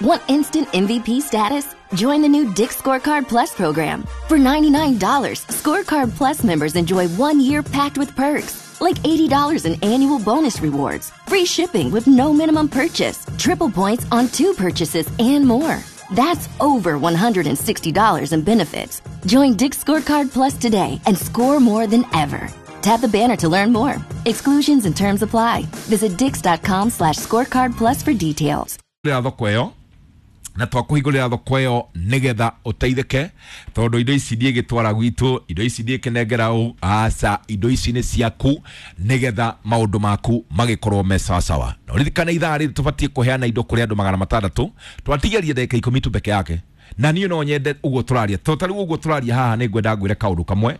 Want instant MVP status? Join the new Dick's Scorecard Plus program. For $99, Scorecard Plus members enjoy 1 year packed with perks, like $80 in annual bonus rewards, free shipping with no minimum purchase, triple points on two purchases, and more. That's over $160 in benefits. Join Dick's Scorecard Plus today and score more than ever. Tap the banner to learn more. Exclusions and terms apply. Visit dicks.com/scorecard plus for details. Thoko ĩyo na twakũhingũrĩra thoko ĩyo nĩgetha ũteithĩke, tondũ indo ici ndiĩgĩtwara gwitũ, indo ici ndiĩkĩnengera ũ aca, indo ici nĩ ciaku nĩgetha maũndũ maku magĩkorwo me sawasawa. Na ũririkane ithaa rĩrĩ tũbatiĩ kũheana indo kũrĩ andũ 600, twatigeria ndagĩka 10 tu peke yake. Na niĩ no nyende ũguo tũraria, to tarĩu ũguo tũraria haha, nĩ ngwenda ngwĩre kaũndũ kamwe.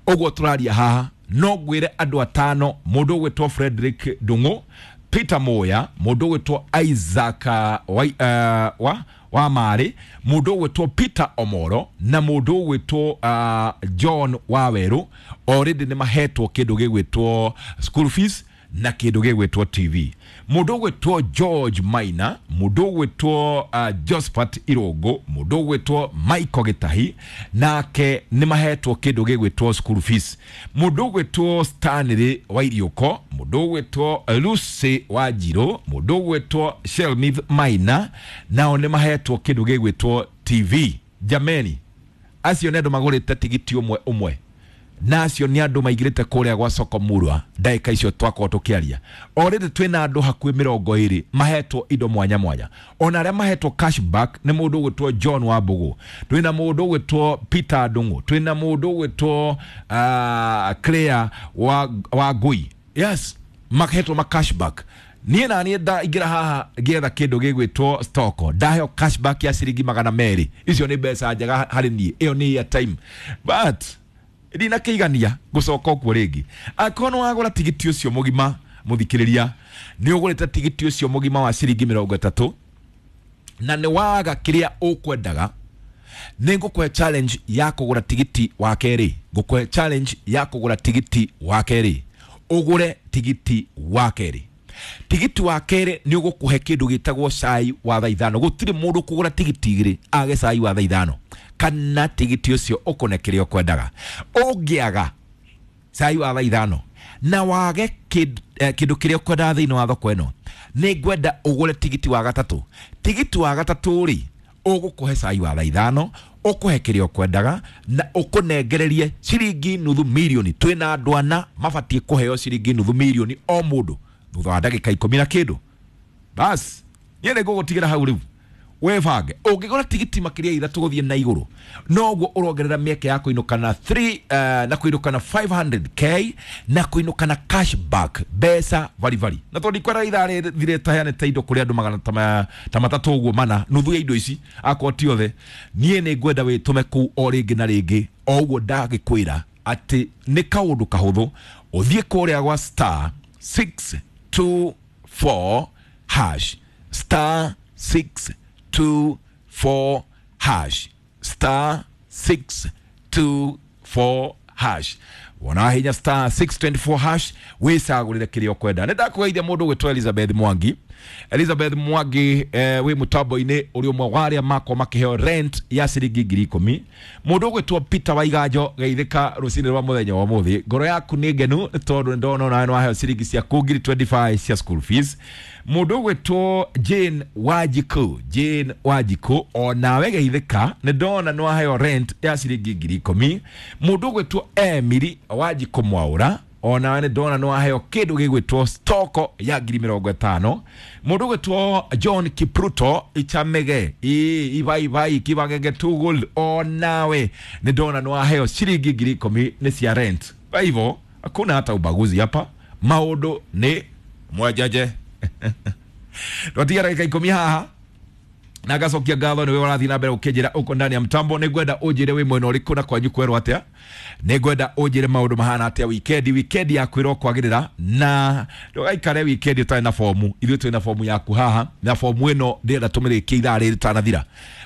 Ũguo tũraria haha no ngwĩre andũ atano: mũndũ ũgwĩtwo Frederick Ndung'u, Peter Moya, mũndũ ũgwĩtwo Isaac wa Marĩ, mũndũ ũgwĩtwo Peter Omoro na mũndũ ũgwĩtwo John Wawerũ. Already nĩ mahetwo kĩndũ gĩgwĩtwo school fees na kĩndũ gĩgwĩtwo TV. Mũndũ ũgwĩtwo George Maina, mũndũ ũgwĩtwo Josephat Irũngũ, mũndũ ũgwĩtwo Michael Gĩtahi nake nĩ mahetwo kĩndũ gĩgwĩtwo school fees. Mũndũ ũgwĩtwo Stanley Wairiũko, mũndũ ũgwĩtwo Lucy Wanjirũ, mũndũ ũgwĩtwo Shelmith Maina nao nĩ mahetwo kĩndũ gĩgwĩtwo TV. Jameni, acio nĩ andũ magũrĩte tigiti ũmwe ũmwe, na acio nĩ andũ maigĩrĩte kũrĩa gwa soko murwa ndagĩka icio twakorwo tũkĩaria. Already twĩna andũ hakuhĩ 20 mahetwo indo mwanya mwanya. Ona arĩa mahetwo cashback nĩ mũndũ ũgwĩtwo John Wambũgũ, twĩna mũndũ ũgwĩtwo Peter Ndung'u, twĩna mũndũ ũgwĩtwo Claire wa Ngui. Yes, mahetwo ma cashback. Niĩ na niĩ ndaingĩra haha ngĩetha kĩndũ gĩgwĩtwo stock, ndaheo cashback ya ciringi 200. Icio nĩ mbeca njega harĩ niĩ, ĩyo nĩ airtime, but ndinakĩigania ngũcoka ũkuo rĩngĩ. Angĩkorwo nĩ wagũra tigiti ũcio mũgima, mũthikĩrĩria, nĩ ũgũrĩte tigiti ũcio mũgima wa ciringi 30 na nĩ waga kĩrĩa ũkwendaga, nĩ ngũkũhe challenge ya kũgũra tigiti wa kerĩ. Ngũkũhe challenge ya kũgũra tigiti wa kerĩ. Ũgũre tigiti wa kerĩ. Tigiti wa kerĩ nĩ ũgũkũhe kĩndũ gĩtagwo cai wa thaa 5. Gũtirĩ mũndũ kũgũra tigiti 2 age cai wa thaa 5 kana tigiti ũcio ũkũne kĩrĩa ũkwendaga. Ũngĩaga cai wa thaa 5 na wage kĩndũ kĩrĩa ũkwendaga thĩinĩ wa thoko ĩno, nĩ ngwenda ũgũre tigiti wa gatatũ. Tigiti wa gatatũ rĩ, ũgũkũhe cai wa thaa 5, ũkũhe kĩrĩa ũkwendaga na ũkũnengererie ciringi nuthu mirioni. Twĩna andũ ana mabatiĩ kũheo ciringi nuthu mirioni o mũndũ thutha wa ndagĩka 10 na kĩndũ. Bas, niĩ nĩ ngũgũtigĩra hau rĩu webange. Ũngĩgũra tigiti makĩria ya 3 gũthiĩ na igũrũ, noguo ũrongerera mĩeke ya kũinũka na 3 na kũinũka na 500K na kũinũka na cashback mbeca baribari. Na tondũ ndikwenda ithaa rĩthire taheanĩte indo kũrĩ andũ magana ta matatũ ũguo mana nuthu ya indo ici, akorwo ti othe, niĩ nĩ ngwenda wĩtũme kũu o rĩngĩ na rĩngĩ. O ũguo ndagĩkwĩra atĩ nĩ kaũndũ kahũthũ, ũthiĩ kũrĩa gwa *624#, *624#, *624#. Wona hinya *624# wĩcagũrĩre kĩrĩa ũkwenda. Nĩ ndakũgeithia mũndũ ũgwĩtwo Elizabeth Mwangi. Elizabeth Mwangi, wĩ mũtambo-inĩ, ũrĩ ũmwe wa arĩa makorwo makĩheo rent ya ciringi 10,000. Mũndũ ũgwĩtwo Peter Waiganjo, geithĩka rũcinĩ rwa mũthenya wa ũmũthĩ. Ngoro yaku nĩ ngenu nĩ tondũ nĩ ndona onawe nĩ waheo ciringi ciaku 25,000 cia school fees. Mũndũ ũgwĩtwo Jane Wanjikũ, Jane Wanjikũ, onawe geithĩka, nĩ ndona nĩ waheo rent ya ciringi 10,000. Mũndũ ũgwĩtwo Emily Wanjikũ Mwaũra, onawe nĩ ndona nĩ waheo kĩndũ gĩgwĩtwo stoko ya 50,000. Mũndũ ũgwĩtwo John Kipruto Ichamege Ibaibai Kibagenge Tugul, onawe nĩ ndona nĩ waheo ciringi 10,000 nĩ cia rent. Kwa hivyo hakuna hata ubaguzi hapa, maũndũ nĩ mwenjeje. Twatiga ndagĩka 10 haha na ngacokia ngatho nĩwe ũrathiĩ na mbere ũkĩnjĩra ũko ndani ya mtambo. Nĩ ngwenda ũnjĩre wĩ mwena ũrĩkũ na kwanyu kwerwo atĩa. Nĩ ngwenda ũnjĩre maũndũ mahana atĩa wikendi. Wikendi yaku ĩrokwagĩrĩra na ndũgaikare wikendi ũtarĩ na fomu. Ithuĩ twĩ na fomu yaku haha, na fomu ĩno ndĩrenda tũmĩrĩkie ithaa rĩrĩ rĩtanathira.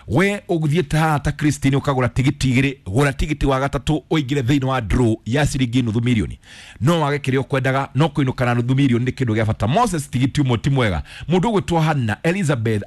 We ũthiĩte haha ta Christine ũkagũra tigiti 2, gũra tigiti wa gatatũ ũingĩre thĩinĩ wa draw ya ciringi nuthu mirioni. No wage kĩrĩa ũkwendaga, no kũinũka na nuthu mirioni nĩ kĩndũ gĩa bata. Moses, tigiti ũmwe ti mwega. Mũndũ ũgwĩtwo Hannah Elizabeth.